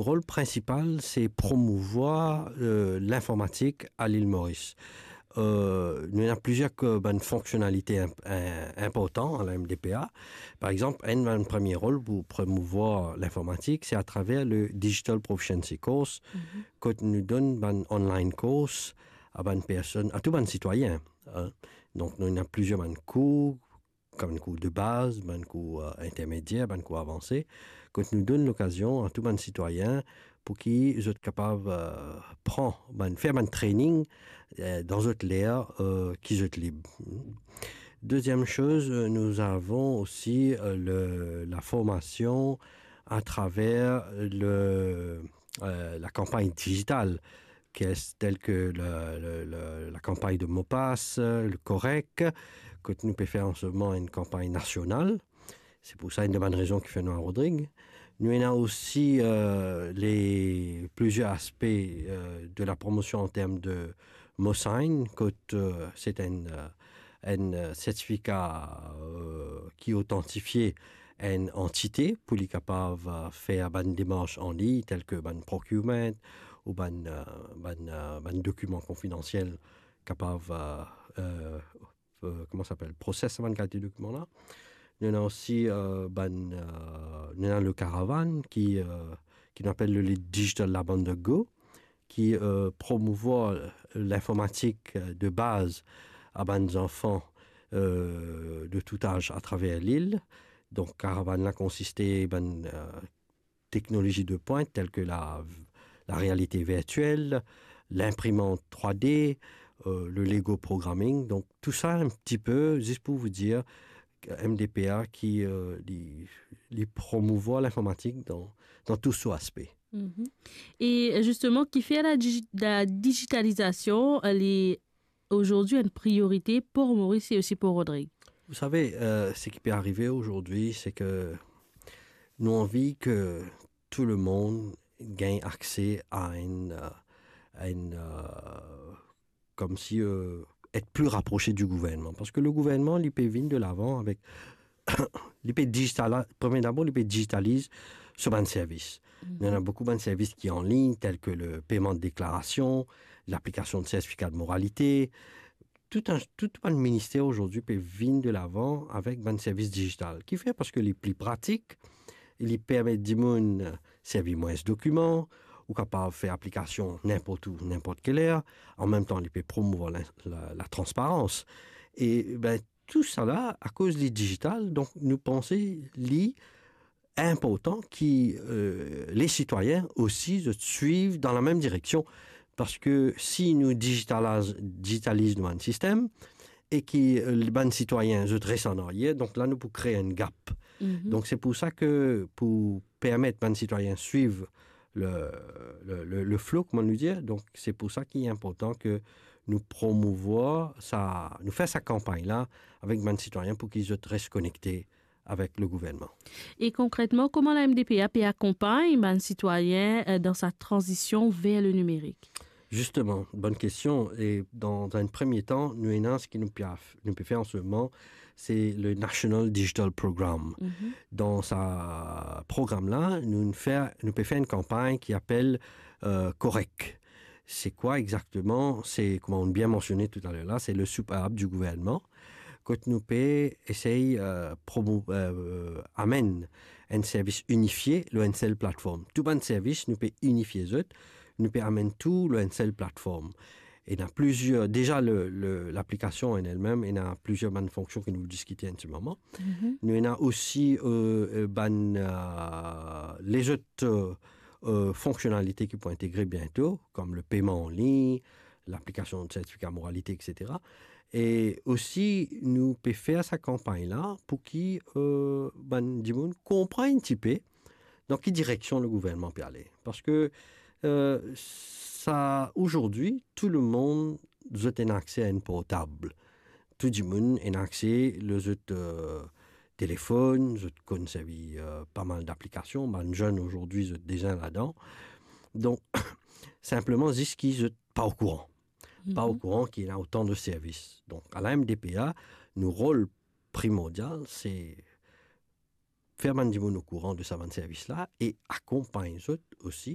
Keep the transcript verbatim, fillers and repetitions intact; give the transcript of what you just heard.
rol prinsipal, se promouvwar, euh, linformatik a Lil Moris. Euh, nou ena plizier k-, bann fonksionalite inp-, in-, inportan a la M D P A. Par exanp, enn bann premie rol pou promouvwar linformatik, se atraver le Digital Proficiency Course, kot nou donn bann online course a bann personn, a tou bann sitwayin, hein. Donk, nou ena plizier bann kour, kouma bann kour de baz, bann kour, euh, intermedier, bann kour avanse, kot nou donn lokazion a tou bann sitwayin pou ki zot kapav, euh, pran, bann, fer bann training, euh, dan zot ler, euh, ki zot lib. Deuxième chose, euh, nous avons aussi, euh, le, la formation à travers le, euh, la campagne digitale, ki es tel ke le, le, le, la campagne de MOPAS, euh, le COREC, kot nou pe fer an se moman enn kanpagn nasional. Se pou sa, enn de bann rezon ki fer nou a Rodrig. Nou ena osi, euh, le, plizier aspe, euh, de la promotion an term de MOSIGN, kot, euh, se enn, euh, enn, euh, sertifika, euh, ki otantifie enn antite pou li kapav, euh, fer bann demars an lign, tel ke bann procurement ou bann, euh, bann, euh, bann dokiman konfidansiel kapav, euh, euh, euh, kouma sa apel, proses sa bann kalite dokiman la. Nou ena osi, euh, bann, euh, nou ena le Caravan ki, euh, ki nou apel le Digital Lab on the Go, ki, euh, promouvwar linformatik, euh, de baz a bann zanfan, euh, de tout az atraver lil. Donk, Caravan la konsiste bann, euh, teknolozi de pwint tel ke la, la realite virtiel, linprimant trwa D, euh, le Lego programming. Donk, tou sa enn ti pe, zis pou vous dire, M D P A ki, euh, li, li promouvwar linformatik dan, dan tou so aspe. Mhm. E zisteman, kifer la digi-, la digitalizasion, elle est aujourd'hui une priorité pour Maurice et aussi pour Rodrig? Vous savez, euh, ce qui peut arriver aujourd'hui, c'est que nou anvi ke tou le mond gagn akse a enn, euh, a enn, euh, koumsi, euh, et pli raprose di gouvernman. Parski le gouvernman, li pe vinn de lavan avek, li pe digitala-, premie dabor, li pe digitaliz so bann servis. Mhm. Nou ena boukou bann servis ki an lign, tel ke le peyman de deklarasion, laplikasion de sertifika de moralite. Tou enn, tou bann minister azordi pe vinn de lavan avek bann servis digital. Kifer? Parski li pli pratik, li permet dimoun servi mwins dokiman, ou kapav fer aplikasion ninport ou, ninport ki ler, an mem tan li pe promouvwar la, la, latransparans. E, ben, tou sa la, akoz li digital, donk nou panse li inportan ki, euh, le sitwayin osi zot swiv dan la mem direksion. Parski si nou digitaliz, digitaliz nou bann sistem, e ki, euh, bann sitwayin zot res an aryer, donk la nou pou kre enn gap. Mhm. Donk se pou sa ke pou permet bann sitwayin swiv le, le, le, le flo, kouma nou dir, donk se pou sa ki inportan ke nou promouvwar sa, nou fer sa kanpagn la avek bann sitwayin pou ki zot res konekte avek le gouvernman. E konkretman, kouma la M D P A pe akonpagn bann sitwayin, euh, dan sa tranzision ver le nimerik? Zisteman, bonn kestion. E dan enn premie tan, nou ena seki nou pe, nou pe fer an se moman, se le National Digital Program. Mhm. Dan sa program la, nou fer, nou pe fer enn kanpagn ki apel, euh, COREC. Se kwa exakteman? Se, kouma nou bien mansione toutaler la, se le soupape di gouvernman, kot nou pe esey, euh, promo-, euh, amenn enn servis inifie lor enn sel platform. Tou bann servis, nou pe inifie zot, nou pe amenn tou lor enn sel platform. Ena plizier, deza le, le, laplikasion an elmem, ena plizier bann fonksion ki nou diskite an se moman. Mhm. Nou ena osi, euh, euh, bann, euh, lezot, euh, euh, fonksionalite ki pou integre biento, kom le peyman an lign, laplikasion de sertifika moralite, et cetera. E osi, nou pe fer sa kanpagn la pou ki, euh, bann dimoun konpran enn tipe dan ki direksion le gouvernman pe ale. Parski, euh, sa, azordi, tou le mond, zot ena akse a enn portab. Tou dimoun ena akse lor zot, euh, telefonn, zot konn servi, euh, pa mal daplikasion, bann zenn azordi, zot deza ladan. Donk, sinpleman, zis ki zot pa okouran. Pa okouran ki ena otan de servis. Donk, a la M D P A, nou rol primordial, se fer bann dimoun okouran de sa bann servis la e akonpagn zot osi